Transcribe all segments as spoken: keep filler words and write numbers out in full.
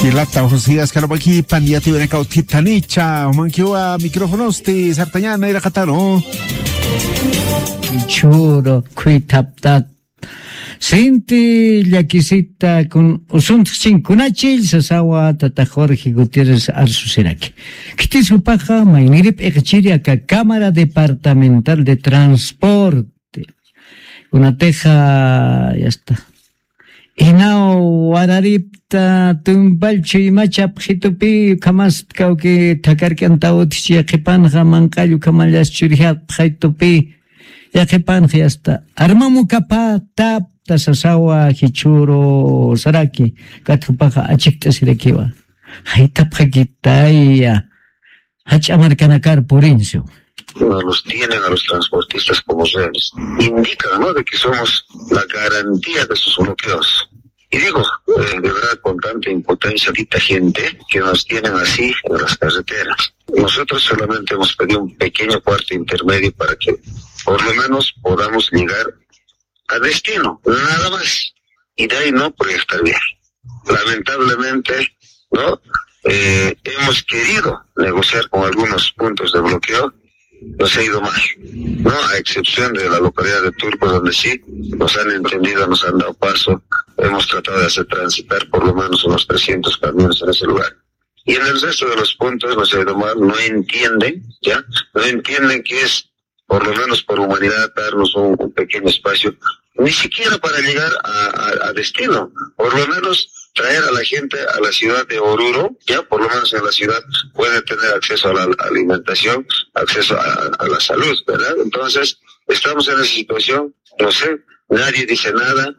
Jilata Josías, karmakipan yatiwinakaw thithanicha, jumankiwa micrófonosti sartañana iraqataru. Churu, khuythaptat. Sinti llakisita kun usuntxchin kunachill sasawa tata Jorge Gutiérrez Arsusiraki. Khitis jupaxa maynirip iqchiri aka Cámara Departamental de Transporte. Kunatixa, ya está. Inaw wararipta tumpallchu ima chapxitupi, ukhamast kawki thakark'antaw utjchi yaqhipanxa manq'all ukhamallas churjapxaytupi, yaqhipanxa ya está. Armamukapatapta sasawa jichhüru saraki, katjupaxa achikt'asirakiwa. Jaytapxakitaya. Jach'a markanakar purinsu. No los tienen a los transportistas como rehenes. Indican, ¿no? De que somos la garantía de sus bloqueos. Y digo, eh, de verdad, con tanta impotencia, tanta gente que nos tienen así en las carreteras. Nosotros solamente hemos pedido un pequeño cuarto intermedio para que por lo menos podamos llegar a destino, nada más. Y de ahí no proyectar viaje. Lamentablemente, ¿no? Eh, hemos querido negociar con algunos puntos de bloqueo, nos ha ido mal, ¿no? A excepción de la localidad de Turco, donde sí nos han entendido, nos han dado paso, hemos tratado de hacer transitar por lo menos unos trescientos camiones en ese lugar. Y en el resto de los puntos nos ha ido mal, no entienden, ¿ya? No entienden que es, por lo menos por humanidad, darnos un, un pequeño espacio, ni siquiera para llegar a, a, a destino, por lo menos traer a la gente a la ciudad de Oruro, ya por lo menos en la ciudad puede tener acceso a la alimentación, acceso a, a la salud, ¿verdad? Entonces, estamos en esa situación, no sé, nadie dice nada.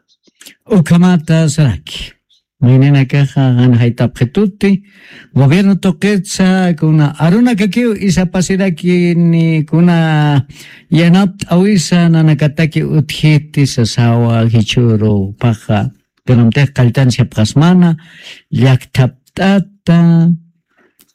Ukhamata saraki. Mayninakaxa jan jaytapxituti, gobierno tuqitsa kuna arunakakiw isapasiraki ni kuna yanapt'awisa nanakataki utjiti sasawa jichhüru paxa. Kunamtix qalltan sipxasmana, llakthapt'ata,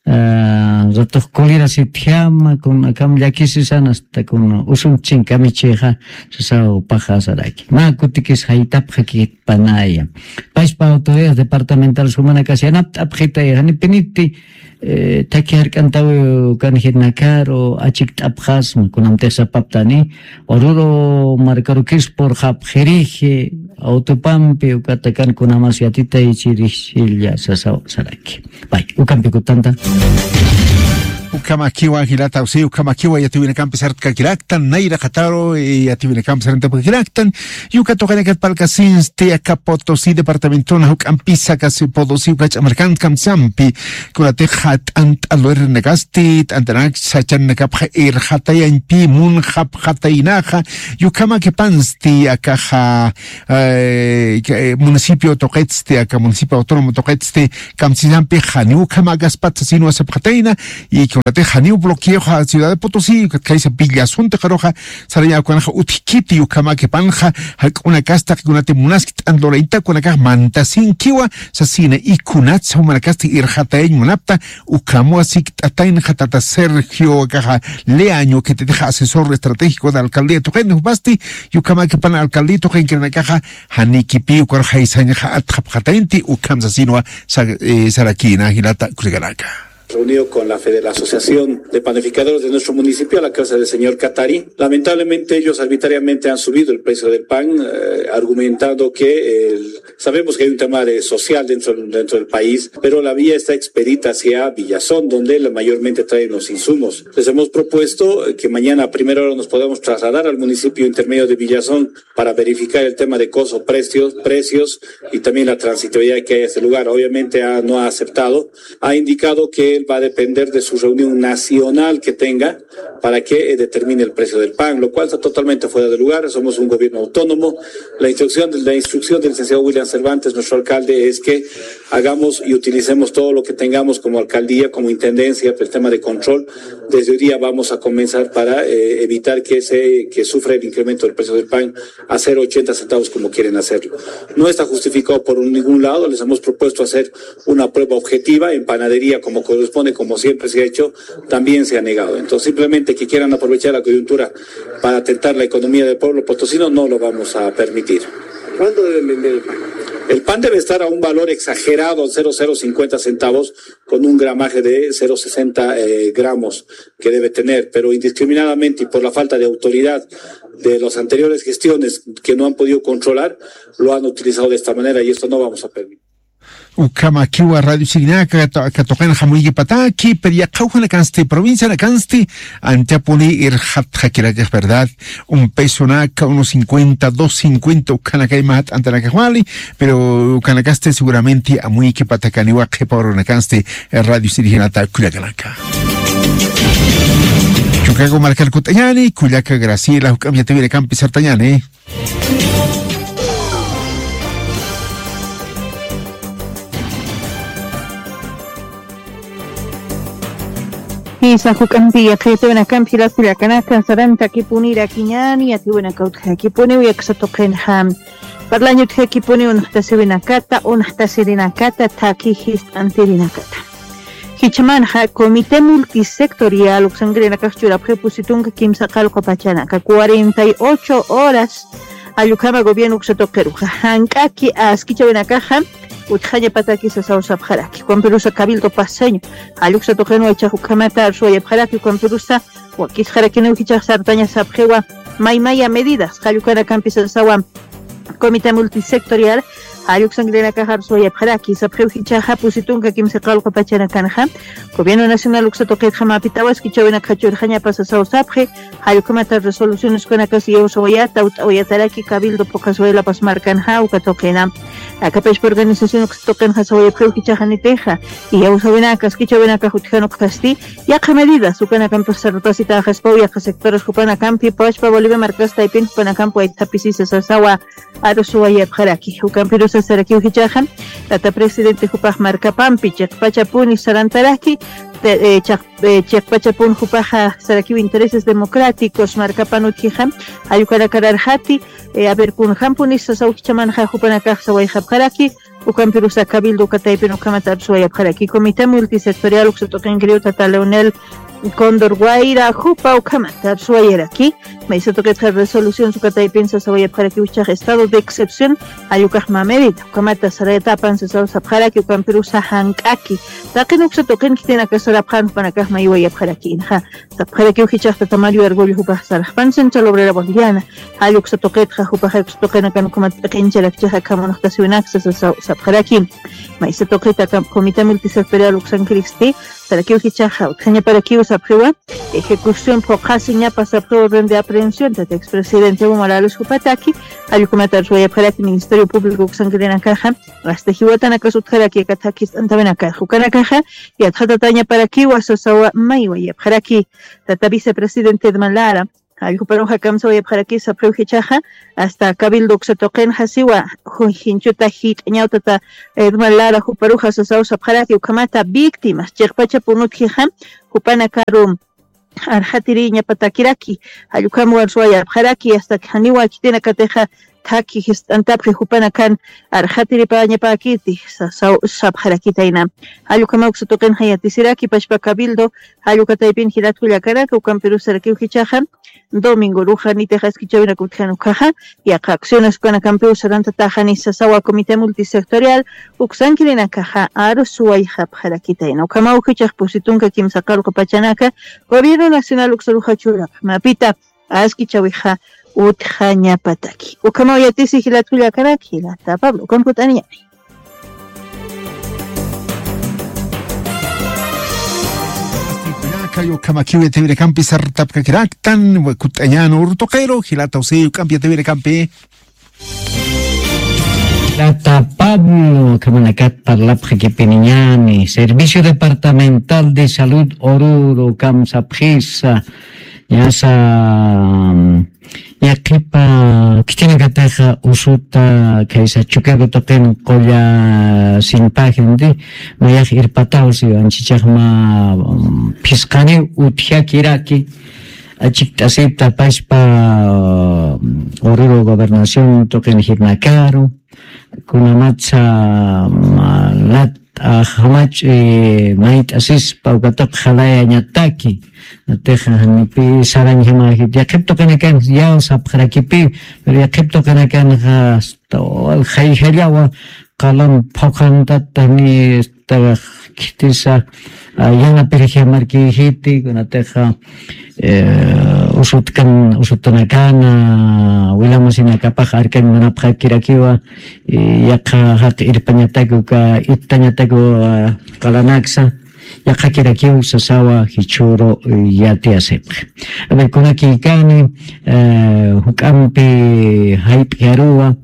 ah, ratux kulirasitjama, kun akam llakisisan hasta kun usuntsin kamichixa, sasaw paxa saraki. Mä kutikis jaytapxakit panaya. Pachpa autoridades departamentales jumanakas yanapt'apxitay, janipiniti, eh, thakhi jark'antawiw ukan jirnakaru achikt'apxasma, kunamtix sapaptani, Oruro markarukis purxapxiriji, autopampi ukatakan kunamas yatitaychirixilla sasaw saraki. Pay, ukampi kutanta. Ukhamakiwa jilata, usi, ukhamakiwa yatiwinakampi sartkakiraktan, nayraqataru, eh, yatiwinakampi sarantapkakiraktan, Yuka tuqinakat parlkasinsti, aka Potosí departamentona juk'ampisa, aka Potosí, uka ch'amarkan kamsampi, kunatixa t'ant'a luernakasti, t'ant'anak sachanakapxa irxatayañpi, munxapxataynaxa, yukhamakipansti, akaxa, eh, municipio tuqitsti, aka municipio autónomo tuqitsti, kamsisampi, janiw ukhamakaspat sasinwa sapxatayna, y kunatix janiw bloqueoxa ciudad de Potosí, ukat khaysa Villazón tuqiruxa, sarañaw kunanxa utjkiti, ukhamakipanxa, jak'unakas taqikunati munaski t'ant'a lurañta, kunakax mantasinkiwa, sasina, y kunatsa jumanakasti irxatayañ munapta, ukhamwa sikt'ataynxa tata Sergio, akaxa Leaño, que te deja asesor estratégico de alcaldía tuqin, jupasti, y ukhamakipan alcaldía tuqinkirinakaxa, janikipi, ukar jaysañxa atxapxataynti, ukham sasinwa, sa-, eh, sarakina, jilata, kusikanaka. Reunido con la fede-, la Asociación de Panificadores de nuestro municipio, a la cabeza del señor Catari. Lamentablemente, ellos arbitrariamente han subido el precio del pan, eh, argumentando que el, sabemos que hay un tema de social dentro, dentro del país, pero la vía está expedita hacia Villazón, donde la, mayormente traen los insumos. Les hemos propuesto, eh, que mañana a primera hora nos podamos trasladar al municipio intermedio de Villazón para verificar el tema de costos, precios, precios y también la transitabilidad que hay a ese lugar. Obviamente ha, no ha aceptado. Ha indicado que él va a depender de su reunión nacional que tenga para que, eh, determine el precio del pan, lo cual está totalmente fuera de lugar. Somos un gobierno autónomo. La instrucción de, la instrucción del licenciado William Cervantes, nuestro alcalde, es que hagamos y utilicemos todo lo que tengamos como alcaldía, como intendencia, el tema de control. Desde hoy día vamos a comenzar para, eh, evitar que se, que sufra el incremento del precio del pan a cero ochenta centavos como quieren hacerlo. No está justificado por un, ningún lado. Les hemos propuesto hacer una prueba objetiva en panadería como corresponde, como siempre se ha hecho, también se ha negado. Entonces, simplemente que quieran aprovechar la coyuntura para atentar la economía del pueblo potosino, no lo vamos a permitir. ¿Cuándo deben vender el pan? El pan debe estar a un valor exagerado, cero cero cincuenta centavos, con un gramaje de cero sesenta, eh, gramos que debe tener, pero indiscriminadamente y por la falta de autoridad de las anteriores gestiones que no han podido controlar, lo han utilizado de esta manera y esto no vamos a permitir. Ukhamakiwa radio sirinaka, katuqin jamuyikipataki, pero yaqhawjanakansti, provincianakansti, antapuni irxatxakirakix, ¿verdad? Un pesonaka, uno cincuenta, dos cincuenta, ukhanakay mahat antanakaxwali, pero ukhanakasti seguramente amuykipatakaniwa qhipa urunakansti radio sirijanata kullakanaka. Chukago markar kut'añani, kullaka Graciela, juk'amp yatawirakampi sartañani. Jisa juk'ampi yaqhitawinakampi jilat kullakanaka, sarantakipunirakiñani, yatawinaka utjakipuniw, yaksatuqinxa parlaña utjakipuniw, unaxtasiwinakata, unaxtasirinakata, thakhi jist'antirinakata. Jichhamanxa Comité Multisectorial uksankirinakax churapxi pusi tunka kimsa qallqu pachanaka, cuarenta y ocho horas, jall ukhama gobierno uksa tuqiruxa. Jank'aki askichäwinakaxa utjañapataki sasaw sapxaraki. Ukampirusa Cabildo Paceño jall uksa tuqinwa jichhax ukhamat arsuwayapxaraki, ukampirusa wakisxarakiniw jichhax sartaña sapxiwa maymaya medidas jall ukanakampi sasawa. Comité Multisectorial jall uksankirinakax arsuwayapxaraki, sapxiw jichhaxa pusi tunka kimsa qallqu pachanakanxa Gobierno Nacional uksa tuqitxa mapitaw askichäwinakxa churxañapa sasaw sapxi, jall ukhamata resoluciones ukanakas iyawsawayata, ut'awayataraki Cabildo phuqhasway La Paz markanxa uka tuqina. Aka pachpa organización uksa tuqinxa sawayapxiw jichhax janitixa iyawsawinaka, askichäwinakax utjan ukasti, yaqha medidas ukanakampix sartasitäxaspaw, yaqha sectores jupanakampi, pachpa Bolivia markas taypin jupanakampi waythapisisa sasawa arsuwayapxaraki. Ukampirusa sarakiw jichhaxa, tata presidente jupax markapampi chiqpachapuni sarantaraki, te-, eh, chaq-, eh, chiqpachapun jupaxa sarakiw intereses democráticos markapan utjixa, jall ukanakar arxati, eh, a ver, kunjampunisa sasaw jichhamanxa jupanakax sawayxapxaraki, ukampirusa Cabildo uka taypin ukhamat arsuwayapxaraki. Comité Multisectorial uksa tuqinkiriw tata Leonel Cóndor Guaira jupa ukhamat arsuwayaraki. Maysa tuqitxa resolución uka taypin sasawayapxarakiw jichhax estado de excepción, jall ukax mä medida ukhamata sarayatapan sasaw sapxaraki, ukampirusa jank'aki taqin uksa tuqin khitinaka sarapxän jupanakax maywayapxaraki. Inxa sapxarakiw jichhax tata Mario Argüello jupax sarxpan Central Obrera Boliviana, jall uksa tuqitxa jupaxa uksa tuqinakan ukhamat p'iqincharakchixa akham unaxtasiwinaksa sasaw sapxaraki. Maysa tuqita Comité Multisectorial uksankiristi sarakiw jichhaxa utjañaparakiw sapxiwa, ejecución phuqhasiñapa sapxiwa orden de aprehensión tata expresidente Evo Morales jupataki, jall ukhamat arsuwayapxaraki Ministerio Público uksankirinakaxa, hasta jiwatanakas utjaraki aka thakhi jist'antawinakax ukanakaxa, yatxatatañaparakiwa sasawa maywayapxaraki. Tata vicepresidente Edman Lara jall juparuxa kamsawayapxaraki sapxiw jichhaxa, hasta Cabildo uksa tuqinxa siwa, ju-, jinchuta jit'añaw tata Edman Lara juparuxa sasaw sapxaraki, ukhamata víctimas chiqpachapun utjixa jupanakaru arxatiriñapatakiraki, jall ukham arsuwayapxaraki, hasta janiwa khitinakatixa thakhi jist'antapxi jupanakan arxatiripañapäkiti sasaw sapxarakitayna. Jall ukhamaw uksa tuqinxa yatisiraki pachpa Cabildo, jall uka taypin jilat kullakanaka, ukampirus sarakiw jichhaxa, domingo uruxa nitix askichäwinak utjan ukhaxa, yaqha acciones ukanakampiw sarantataxani sasawa Comité Multisectorial uksankirinakaxa arsuwayxapxarakitayna. Ukhamaw jichhax pusi tunka kimsa qallqu pachanaka Gobierno Nacional uksaruxa churapxi mapita askichäwixa utjañapataki. Ukhamaw yatisi jilat kullakanaka, jilata Pablo, ukham kut'aniñani. Kullaka, ukhamakiw yatiyawinakampi sartapkakiraktan, kut'añan uru tuqiru, jilata José, ukham yatiyawinakampi. Jilata Pablo, ukhamanakat parlapxakipiniñani, Servicio Departamental de Salud Oruro, ukham sapxisa, ñasa, mm, yaqhipa khitinakatixa usuta khaysa Chukiyawu tuqin qulla sinpajin, mayax irpataw siwan, jichhax mä, mm, phisqaniw utjakiraki, achikt'asipta pachpa, mm, Oruro gobernación tuqin jiknakaru, kunamatsa, mm, lat ajamach, eh, mayt'asispa uka tuq jalayañataki. Natix janipi sarañjama, yaqhip tuqinakan yaw sapxarakipi, pero yaqhip tuqinakanxa hasta wal jayjallawa qalan phuqhantatani, tax khitisa, ah, yanapirixi markixiti, kunatixa, eh, usutkan, usutanakana, wilamasinakapax arkañ munapxakirakiwa, y yaqha jaq irpañataku ka, ittañataku, ah, qalanaksa, yaqhakirakiw sasawa jichhüru yatiyasipxi. A ver, kunakïkani, eh, juk'ampi jayp'iyaruwa,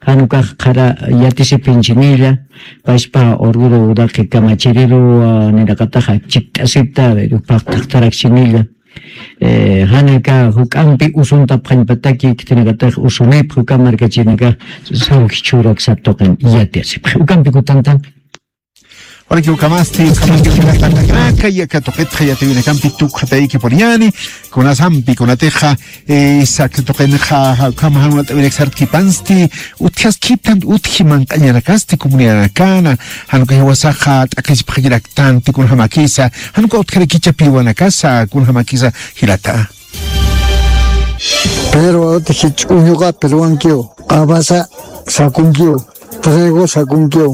jan ukax qhara yatisipinchiniya, paspa Oruro Uraqi kamachiriruwa, niraqataxa chikt'asipta, a ver, upax taqtarakchinilla. Eh, jan aka juk'ampi usuntapxañpataki, khitinakatax usunipxi uka markachirinakax, saw jichhüru aksa tuqin yatiyasipxi. Juk'ampi kutanta. Walikiw ukhamasti, ukhamasti, ukhamasti, yaka tuqitxa yatiyunakampi tukxatayki puriñani, kunasampi, kunatixa, eh, sak tuqinxa, ukham jan uñt'awinak sartkipansti, utjaskitan, utji manq'añanakasti, comunidanakana, jan uka jiwasaxa t'aqhichipxakiraktanti, kunjamakisa, jan uka utjarakicha piwanakasa, kunjamakisa, jilata. Pero utji ch'uñuqa pirwankiw, q'abasa sakunkiw. Trigo sakunkiw,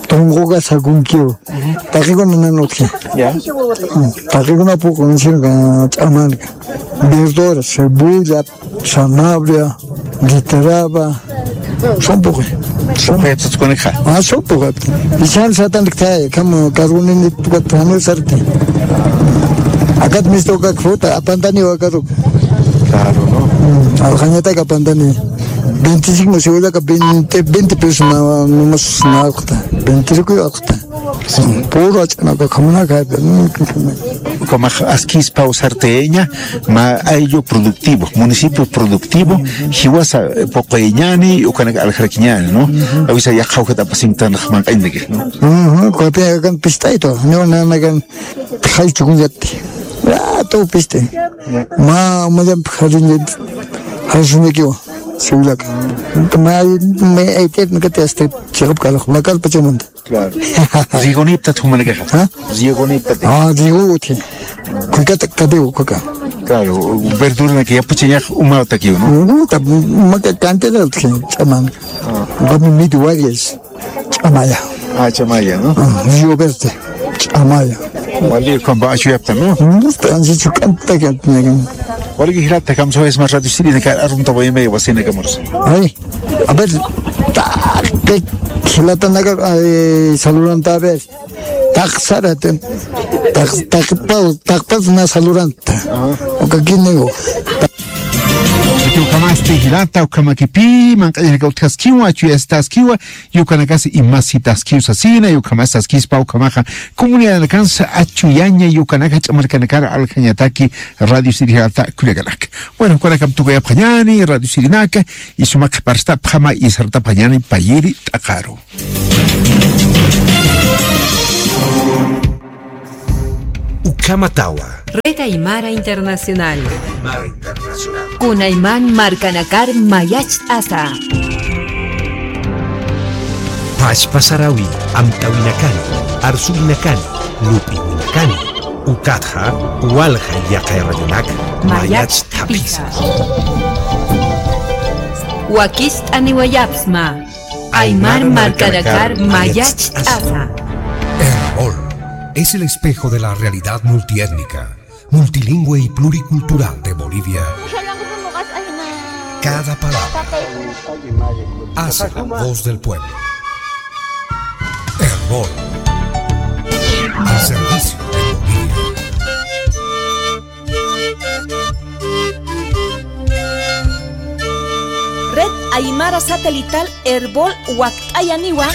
tunquka sakunkiw. Taqikuna nan utji. Ya. Mm, taqikuna puqu, ch'amanka. Verdura, cebolla, zanahoria, guitaraba. Son puqu. Son puqu tukunakxa. Ah, son puqu. Ichan satan ktay, kam kargunini tukat tani sarti. Akat mistuka khuta, apantani wakaruka. Claro, ¿no? Mm, aljañataka apantani. Veinticinco, seguraka veinte, veinte pesos na, no más na alqta. Veinte ruku alqta. Puro ach'anaka, kamunaka. Ukamax askispa usarteña, mä ayllu productivo, municipio productivo, jiwasa, eh, puquyañani, ukanaka aljarakiñani, ¿no? Awisa yaqha ukat apasintan manq'añtaki, ¿no? Ujú, kunapi akan pist'aytu, no, nanakan, jay chukuñati. Ah, todo piste. Mä, mä, ya, jariñati. Jariñakiwa, seguraka. Mä, mä, ay, te, nunca te, este, chiqap kalaq, mä, kalpachamanta. Claro. Rigoniptat jumanakaxa. ¿Ah? Rigoniptat. Ah, rigo utji. Kukata katiw, kuka. Claro, verduranaka yapuchañax umawtakiw, ¿no? Uguta, maka cantera utji, ch'aman. Ah. Gami midi wayes, ch'amaya. Ah, ch'amaya, ¿no? Ah, río verde, ch'amaya. Wali, kamba achuyapta, ¿no? Uguta, ansi chukanta que tiene. Wali, jilata, kamsawayasma radio sirinaka, arunta wayamay, wasinaka mursa. Ay. A ver, taqi jilatanaka, ay, saludanta, a ver. Taqsara, taq, taq, taqpa, taqpa na saludanta. Ajá. Uka kinigo. Ukamasti jilata, ukamakipi, manq'añanaka utjaskiwa, achuyastaskiwa, yukanakasa imasitaskiw sasina, yukamasti askispa, ukamaxa, comunidadanakansa achuyaña, yukanaka, ch'amarkanakar, aljañataki, radio sirjata, kullakanaka. Bueno, ukanakam tukuyapxañani, radio sirinaka, y sumaq qhiparstapxama, y sartapxañani, payiri, t'aqaru. Ukhamatawa. Red Aymara Internacional. Aymara Internacional. Kunayman markanakar mayacht'asa. Pachpa sarawi, amtawinakani, arsuwinakani, lup'iwinakani. Ukatxa, walja yaqay radionak, mayacht'apisa. Wakicht'aniwayapxsma. Aymar markanakar mayacht'asa. Erbol es el espejo de la realidad multiétnica, multilingüe y pluricultural de Bolivia. Cada palabra hace la voz del pueblo. Erbol, al servicio de Bolivia. Red Aymara Satelital Erbol wakt'ayaniwa,